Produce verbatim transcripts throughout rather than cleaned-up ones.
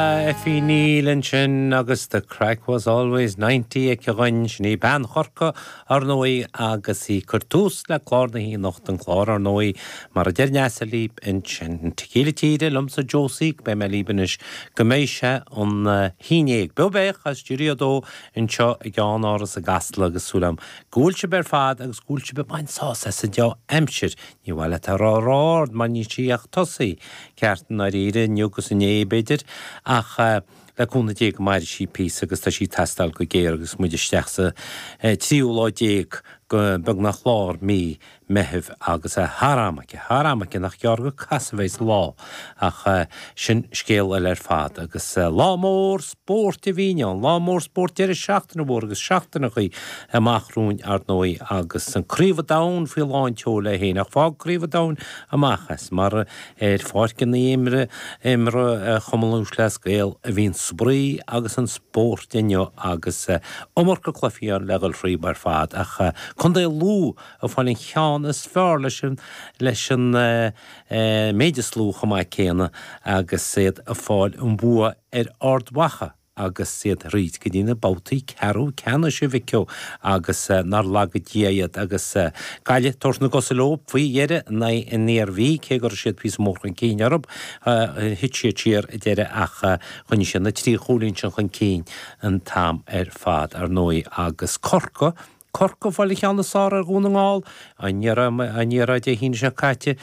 Effie Neill ansin agus the craic was always ninety aici againn sin í bean Chorcaí ar ndóigh agus í ag cur tús le clár na hAoine an clár ar ndóigh mar a deir Neasa libh ansin an Tequila Tíre liomsa Josie beidh mé libh anois go mbeidh sé an haon déag. Beo béach as Stiúideo a dó anseo i gceannáras i gCasla agus súil agam go bhfuil sibh ar fad agus go bhfuil sibh ag baint sásamh as an dea-aimsir. Ní mhaith leat a rá rá-ard mar níl sí ach tosaithe ceart i ndáiríre inniu agus inné b'fhéidir ach le cúnamh Dé go mairfidh sí píosa agus tá sí ag teastáil go géar agus muid isteach sa tríú lá déag go beagnach lár mí Meithimh agus thar am aici, thar am aici nach gearr go casadh a bheidh sa lá ach sin scéal eile ar fad agus lá mór spóirt a bhí ann, lá mór spóirt deireadh seachtaine mhór agus seachtaineachaí amach romhainn ar ndóigh agus an Craobh an Domhain faoi lán tseoil é féin ach fág Craobh an Domhain amach as mar ar pháirceanna imre imre Chumann Lúthchleas Gael a bhíonn spraoi agus an spórt inniu agus iomarca cluichí ann le dhul thríob ar fad ach Contae Lú ag fáil an cheann is fearr leis an leis an méid is lú chomh maith céanna agus iad ag fáil an bua ar Ard Mhacha agus iad thríd go dtí na babhtaí ceathrú ceannais a mhic ó agus nár laga Dia iad agus Gaillimh ag tabhairt na gcosa leo faoi dheireadh in aghaidh an Iarmhí cé go raibh siad píosa mór chun cinn orthu thit siad siar ag deireadh ach choinnigh siad na trí chúilín sin chun cinn an t-am ar fad ar ndóigh agus Corcaigh Corcaigh ag fáil an cheann is fearr ar Dhún na nGall an iarraidh Dé hAoine seo caite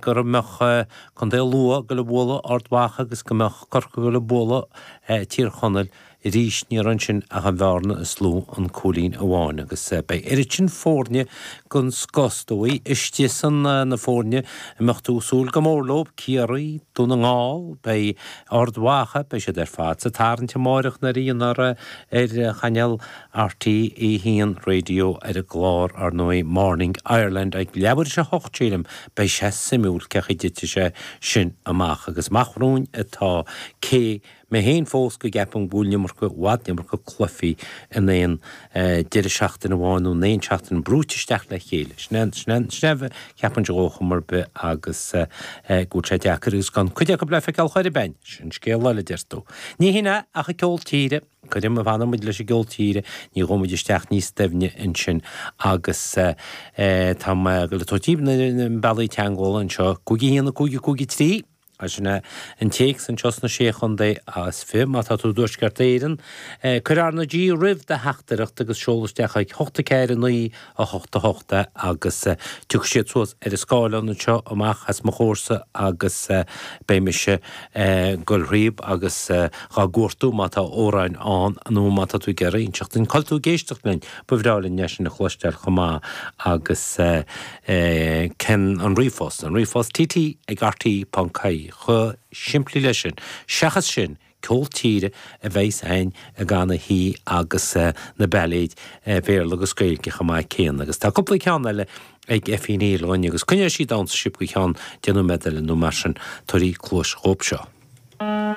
go mbeadh Contae Lú ag goil a bhualadh Ard Mhacha agus go mbeadh Corcaigh ag goil a bualadh Tír Chonaill arís ní raibh ansin ach an bhearna is lú an cúilín amháin agus beidh oiread sin foirne den scoth is dóigh istigh san na foirne a mbeadh tú ag súil go mór leo, Ciarraí, Dún na nGall, beidh Ard Mhacha, beidh siad ar fad sa tarraingt amáireach nuair a dhéanfar ar chainéal RTÉ a haon Radio ar an gclár ar ndóigh Morning Ireland ag leathuair tar éis a hocht sílim beidh sé suimiúil cén chaoi a dtitfidh sé sin amach agus amach romhainn atá cé mé féin fós go gceapaim go bhfuil an iomarca i bhfad an iomarca cluichí in aon deireadh seachtaine amháin nó in aon seachtain brúite isteach le chéile. Sin é sin é sin é a cheapaimse dhó chuma ar bith agus go bhfuil sé deacair agus gan cuid acu le feiceáil chor ar bith. Sin scéal eile deir tú. Ní hin é ach an ceol tíre. Cuirim a bhfanfaidh muid leis an gceol tíre, ní ghabhfaidh muid isteach níos doimhne ansin agus tá mé ag dul a tabhairt daoibh na bealaí teagmhála anseo, cúig a haon, a cúig, a cúig a trí, sin é an téacs anseo sna Sé Chontae is fiche má tá tú i dTuaisceart Éireann. Cuir R na G roimh do theachtaireacht agus seol isteach chuig hocht a ceathair a naoi a hocht a hocht é agus tiocfaidh siad suas ar an scáileán anseo amach as mo chomhairsa agus beidh mise ag goil thríob agus dhá gcuartú má tá amhráin ann nó má tá tú ag iarraidh inseacht dúinn cá bhfuil tú ag éisteacht linn. Ba bhreá linn é sin a chloisteáil chomh maith agus cén an ríomhphost, an ríomhphost TT ag RTÉ ponc ie chomh simplí leis sin. Seachas sin, ceol tíre a bheas againn i gan a shuí agus na bailéid Bhéarla agus Gaeilge chomh maith céanna. Agus tá cúpla ceann eile ag Effie Neill againn agus coinneoidh sí damhsa sibh go ceann deich nóiméad eile nó mar sin, tabhair cluas dhóibh seo.